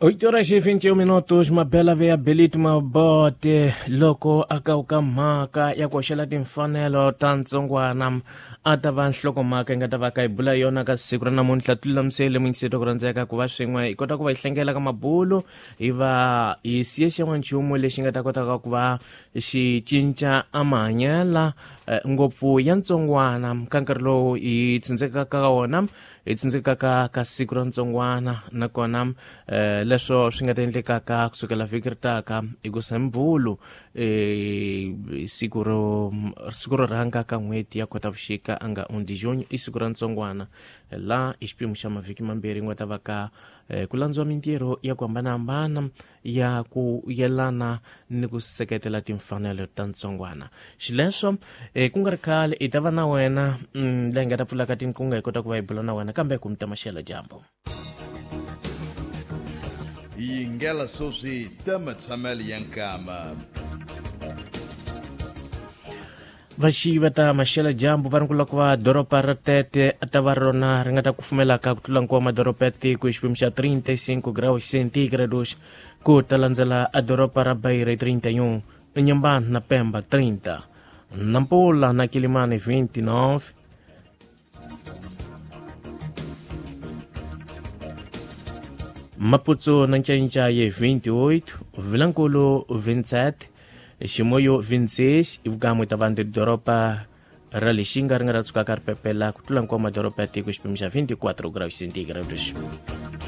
8 horas e 21 minutos. Mabela ve ya Belito Mabote loko a kawuka mhaka ya ku hoxela timfanelo ta ntsongwana a ta va nhlokomhaka yi nga ta va ka hi bula yona ka siku ra namuntlha. Tilulamisele muyingiseti ku rhandzeka ku va swin'we hi kota ku va hi hlengela ka mabulu, hi va hi siye xin'wanchumu lexi nga ta kotaka ku va xi cinca a mahanyela ngopfu ya ntsongwana ka nkarhi lowu hi tsindzekaka ka wona, hi tsindzekaka ka siku ra ntsongwana. Nakona leswo swi nga ta endlekaka kusukela vhiki ri taka hi ku sembvulu, siku ro rhanga ka n'hweti ya Khotavuxika a nga 1 de junho, i siku ra ntsongwana, la i xiphemu xa mavhiki mambirhi nga ta va ka ku landziwa mintirho ya ku hambanahambana ya ku yelana ni ku seketela timfanelo ta ntsongwana. Xileswo ku nga ri khale i ta va na wena leyi nga ta pfulaka tinqingho hi kota ku va hi bula na wena, kambe ku mi ta maxela dyambu. Yingela sweswi ta matshamelo ya nkama. Vaxiyi va ta maxela dyambu va ri ku va doroba ra Tete a ta va rona ri nga ta kufumelaka ku tlula nkuwa madoroba ya tiko hi xiphemu xa 35 graus centígrados, ku ta landzela a doroba ra Beira 31, Inhambane na Pemba 30, Nampula na Quilimane 29, Maputo na Ncaincaye 28, Vilankulo 27, Ximoyo 26. Ivukamwe ta vanhu doroba ra Lixinga ri nga ra tshukaka ri pepela ku tlula nkuwa madoroba ya tiko xiphemu xa 24 graus centígrados.